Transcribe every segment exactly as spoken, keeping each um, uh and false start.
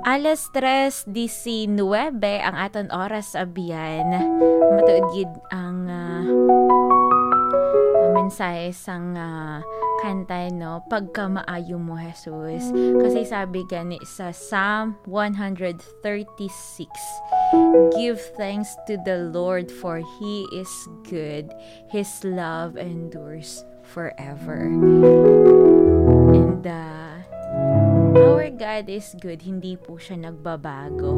Alas tres diecinuebe ang aton oras, abyan. Matuod gid ang, ah, ang mensahe sang, ah, kanta, no? Pagkamaayo mo, Jesus. Kasi sabi gani sa Psalm one hundred thirty-six, "Give thanks to the Lord, for He is good. His love endures forever." And, uh, our God is good. Hindi po siya nagbabago.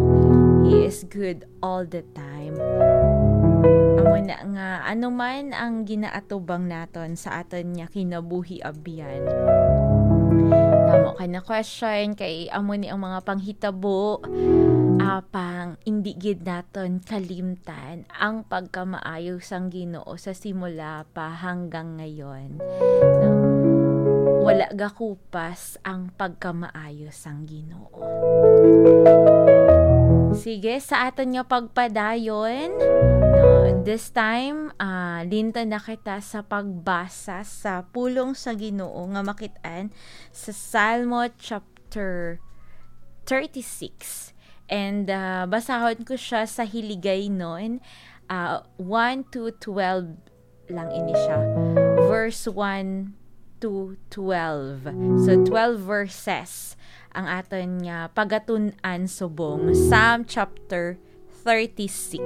He is good all the time. Amo na nga, ano man ang ginaatubang naton sa aton nga kinabuhi, abyan. Tamo ka na question, kay amo ni ang mga panghitabo, apang hindi gid naton kalimtan ang pagkamaayo sang Ginoo sa simula pa hanggang ngayon. No? Wala gakupas ang pagkamaayo sang Ginoo. Sige, sa aton nga pagpadayon, no, this time, ah, linta na kita sa pagbasa sa pulong sa Ginoo nga makit-an sa Salmo chapter thirty-six. And, ah, basahon ko siya sa Hiligaynon, ah, one to twelve lang ini siya. Verse one to twelve. So, twelve verses ang aton nga pagatun-an subong. Psalm chapter thirty-six.